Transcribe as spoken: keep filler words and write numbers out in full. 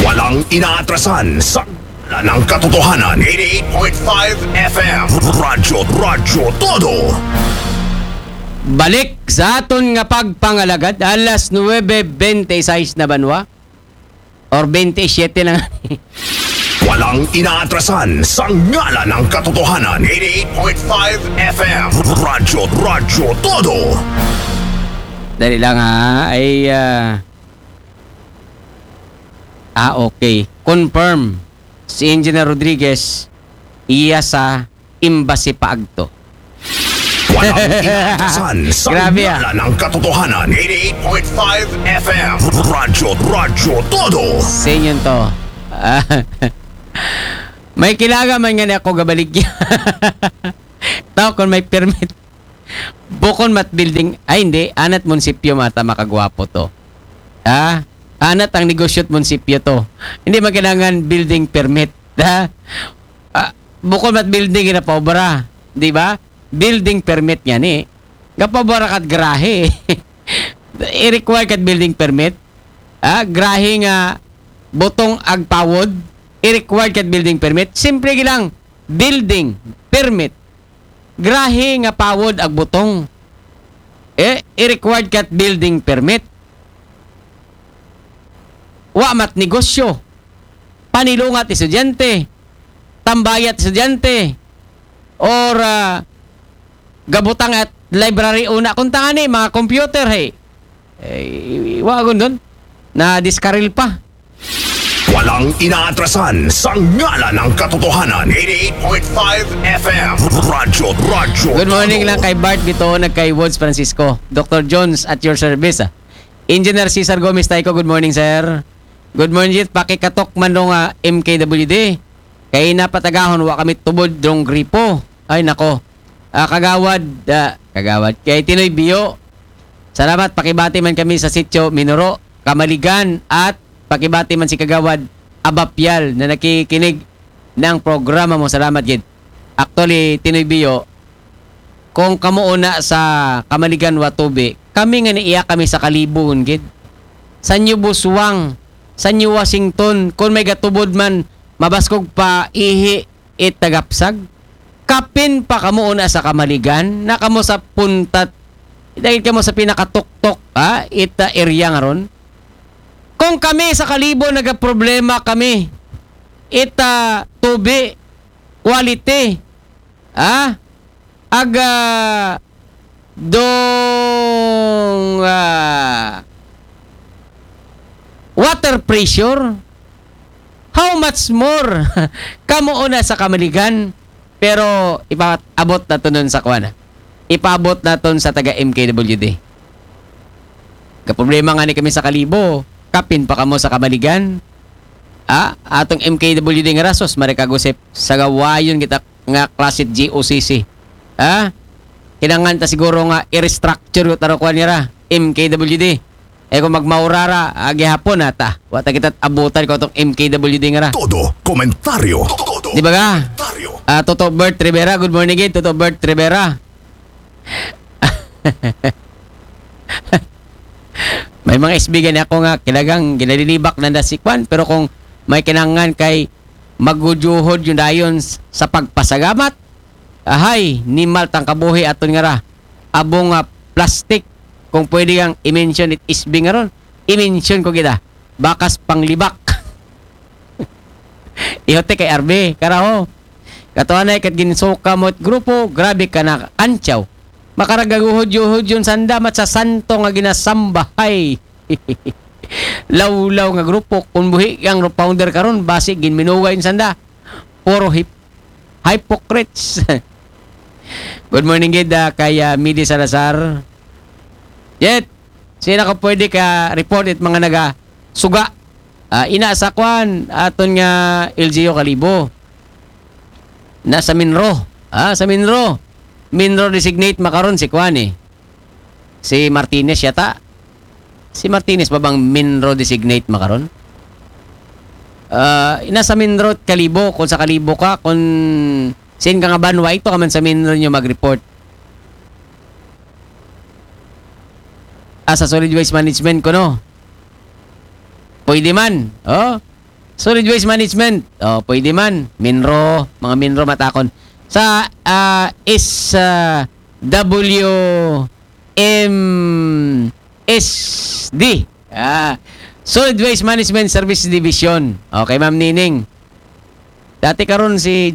Walang inaatrasan sa ng katotohanan. Eighty-eight point five F M. Radyo, Radyo Todo. Balik sa aton nga pagpangalagad, alas nuebe bente y seis na banwa. Or bente y siete lang. Walang inaatrasan sa ngalan ng katotohanan. Eighty-eight point five F M. Radyo, Radyo Todo. Dali lang ha. Ay, ah, ah, okay. Confirm. Si Engineer Rodriguez, iya sa embassy pa agto. Walang inaatrasan sa Grabe, ah. ngalan ng katotohanan. Eighty-eight point five F M. Radyo, Radyo Todo. Sa inyo to. Ah, may kilaga man nga ni ako gabaligya. Tao kung may permit. Bukon mat building. Ay, hindi. Anat munisipyo mata makagwapo to. Ha? Anat ang negosyo at munisipyo to. Hindi man kailangan building permit. Ha? Ah, bukon mat building na paubra. Di ba? Building permit nga ni. Nga paubra kat garahe. I-require kat building permit. Ah, garahe nga butong agpawod. I-require kat building permit. Simple lang. Building permit. Garahe nga pawod ag butong. Eh, i-required kat building permit. Wa mat negosyo. Panilungat estudyante. Tambayat estudyante. Or ah, gabutang at library una. Kung tanga ni, mga computer, hey. Eh, wa gun doon. Na diskaril pa. Walang inaatrasan sa ngalan ng katotohanan. Eighty-eight point five F M. Radyo, Radyo. Good morning Todo. Lang kay Bart Bitoon at kay Woods Francisco. Doctor Jones at your service. Ah. Engineer Cesar Gomez Taico, good morning, sir. Good morning, Jit. Pakikatok man dong ah, M K W D. Kay napatagahon, wa kami tubod dong gripo. Ay, nako. Ah, kagawad, ah, kagawad. Kay Tinoy Biyo. Salamat, pakibati man kami sa sitio Minuro, Kamaligan, at pakibati man si Kagawad Abapyal na nakikinig ng programa mo. Salamat, Gid. Actually, Tinoy Biyo, kung kamuuna sa Kamaligan Watubi, kami nga niiya kami sa Kalibon, Gid. Sa New Buswang, sa New Washington, kung may gatubod man, mabaskog pa ihi, it tagapsag. Kapin pa kamo una sa Kamaligan, na kamo sa puntat, dahil kamo sa pinakatuktok, ha, ita area nga ron. Kung kami sa Kalibo nagaproblema kami, ita tubi, quality, ha, aga dong ah, water pressure, how much more kamo una sa Kamaligan? Pero ipaabot naton nun sa kuan, ah. Ipaabot naton sa taga M K W D. Kaproblema nga ni kami sa Kalibo, kapin pa kamo sa Kamaligan. Ah, atong M K W D nga rasos, Marikagusip, sa gawayon kita nga klase G O C C. Ha? Kinangan ta siguro nga i-restructure ko taro kuan nira, M K W D. Eh kung magmaurara, ah, gihapon na ta. Wa ta kita abutan ko tong M K W D nga ra. Todo komentaryo. Todo Di ba ka? Komentaryo. Ah, Toto Bert Rivera, good morning, gid. Toto Bert Rivera. May mga S B gani ako nga kilagang ginalilibak na na si Kwan, pero kung may kinangan kay magujuhod yung dayon s- sa pagpasagamat, ahay, nimal tang kabuhi aton nga ra. Abong nga plastic, kung pwede kang i-mention it S B nga ron, i-mention ko kita. Bakas panglibak. Ihote kay R B, karaho. Katuanay kat ginsuka mo it grupo, grabe ka na antyaw. Makaragaguhod-yuhod yun sanda mat sa santo nga ginasambahay. Lawlaw nga grupo, kung buhi ang founder karon, basi ginminugay yun sanda. Puro hip hypocrites. Good morning, gid, ah, kay ah, Midi Salazar. Yet, sino ka pwede ka report it mga naga suga? Ah, ina sa kwan, aton nga L G U Kalibo. Na sa Minro. Ah, sa Minro. Minro designate makaron si kwan eh. Si Martinez yata. Si Martinez ba bang Minro designate makaron? Ah, ina sa Minro Kalibo, kung sa Kalibo ka, kung sin ka nga banwa, ito ka man sa Minro nyo mag-report. Ah, sa solid waste management ko, no? Pwede man. Oh? Solid Waste Management. Oh, pwede man. MINRO, mga MINRO matakon. Sa ah, S W M S D. Ah, Solid Waste Management Service Division. Okay, Ma'am Nining. Dati karon si